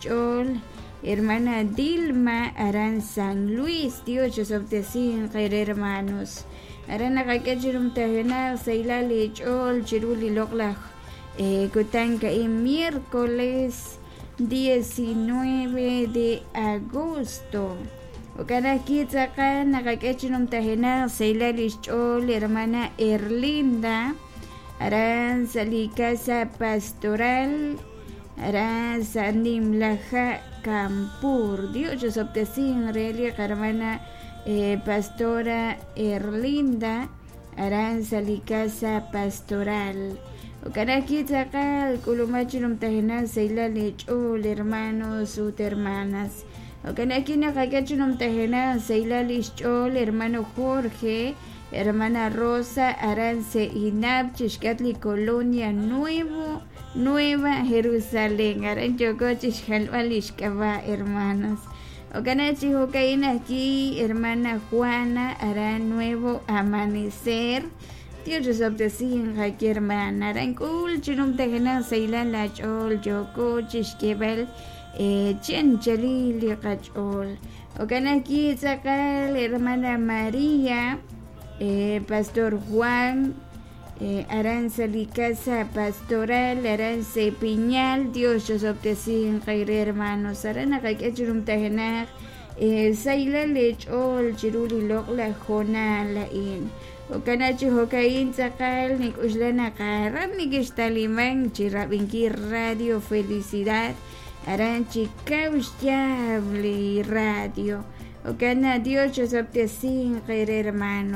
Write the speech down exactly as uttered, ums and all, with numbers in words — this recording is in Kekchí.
Ch'ool hermana Dilma aran San Luis. Dios chisob'tesinq eere hermanos. Aran naqak'e chi numtajenaq sahilal eech'ool chiru li loq'laj kutan ka'in miércoles diecinueve de agosto. Jo'kan ajwi' tz'aqal naqak'e chi numtajenaq sahilal ixch'ool hermana Erlinda aran sa' li casa pastoral aran sa' Nimlaja Campur. Dios chisob'tesinq re li qarmana pastora Erlinda aran sa' li casa pastoral. Jo'kan ajwi' tz'aqal k'ulumaj chi numtajenaq sahilal eech'ool hermanos ut hermanas. Jo'kan ajwi' naqak'e chi numtajenaq sahilal ixch'ool hermano Jorge, hermana Rosa aran Seinap chixk'atq li colonia Nuevo Nueva Jerusalén. Aran yooko chixjalb'al li xk'ab'a' hermanos. Jo'kan chi jo'ka'in ajwi' hermana Juana aran Nuevo Amanecer. Dios chisob'tesinq aki hermana. Aran k'ul chi numtajenaq sahilal aach'ool yooko chixk'eeb'al chi anchalil li qach'ool. Jo'kan ajwi' tz'aqal hermana María, eh, Pastor Juan, eh, aran sa li casa pastoral aran Sepiñal. Dios chisob'tesinq eere hermanos. Aran naqak'e chi numtajenaq eh, sahilal eech'ool chiru li loq'laj hoonal a'in. Jo'kan chi jo'ka'in tz'aqal nik'uxla naq aran nikixtaliman chi rab'inkil Radio Felicidad aran chi kaw xyaab' li radio. Jo'kan Dios chisob'tesinq eere hermanos.